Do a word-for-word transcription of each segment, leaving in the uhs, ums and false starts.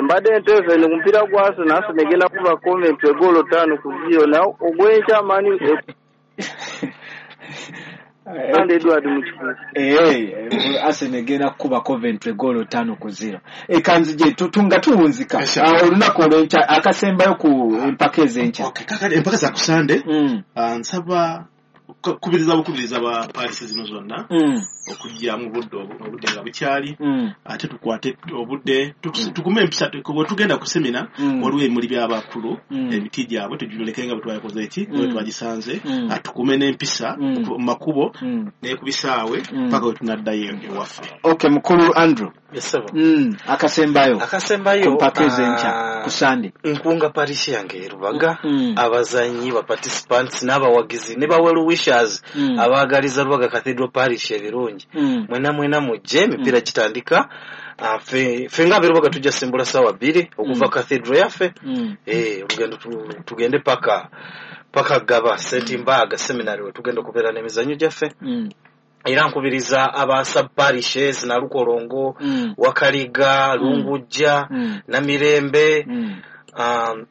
Mbadde Entebbe ku mupiira gwa Arsenal, Arsenal egenda kuba Coventry egoolo ttaano ku zero, naye ogw'enkya Man U Sunday Edward Mukikulu. Eh, Arsenal egenda kukuba Coventry goolo ttaano ku zero. Ekanzije tutunga tuwunzika. Olunaku olw'enkya akasembayo ku empaka ez'enkya. Okay, kakati empaka za ku Sunday. Mm. Nsaba kubiriza bukubiriza ba Paris zino zonna. Mm. Okujja mu budde obudde nga bukyali. Mm. Ate tukwate obudde tukume empisa bwe tugenda ku semina waliwo ebimuli by'abakulu emiti gyabwe tugireke nga bwe twakoze eki bwe twagisanze, atukume n'empisa mu makubo ne ku bisaawe paka we tunaddayo ewaffe. Okay, mukulu Andrew. Yes, sir. Mm, akasembayo. Akasembayo mpaka ezenkya ku Sunday. Nkunga parish yange Rubaga, mm. abazanyi ba participants n'abawagizi ne ba well wishers mm. abaagaliza Rubaga Cathedral Parish ebirungi. Mm. Mwena mwena mujje emipiira mm. gitandika. Uh, fe fe nga Rubaga tujja sembula sawa bbiri okuva mm. Cathedral yaffe. Mm. Eh, olugendo tugende paka paka Gaba Saint Mbaga Seminary we tugenda okubeera n'emizannyo gyaffe. Mm. Era nkubiriza aba sub parishes na Lukolongo, mm. Wakaliga, Lungujja, mm. Namirembe, mm. um,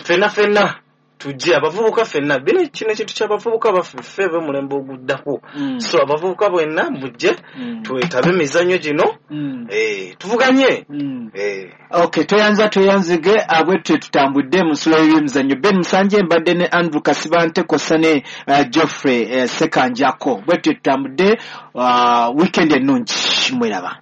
fenna fenna tujje abavubuka fenna bino kino ekintu ky'abavubuka baffe ffe b'omulembe oguddako. Mm. So abavubuka bwenna mujje mm. twetabe emizannyo gino, mm. eh, tuvuganye. Mm. Eh. Okay, tweyanza tweyanzige abwetwe tutambudde mu nsulo y'emizannyo. Ben Musanje mbadde ne Andrew Kasibante kw'ossa ne uh, Geoffrey uh, Sekanjako. Bwetwe tutambudde uh, weekend ennungi mweraba.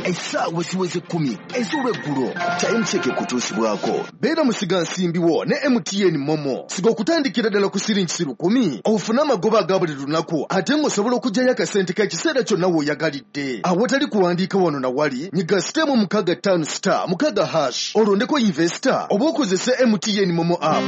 Essaawa ziweze kkumi ez'olweggulo Time Check ekutuusibwako. Beera musigansimbi wo ne M T N Momo. Siga okutandikira ddala ku siringi lukumi ofune amagoba aga buli lunaku ate ng'osobola okuggyayo akasente k'ekiseera kyonna w'oyagalidde. Awatali kuwandiika wano na wali, nyiga sitemu mukaaga ttaano star mukaaga hash olondeko investor oba okozese M T N Momo app.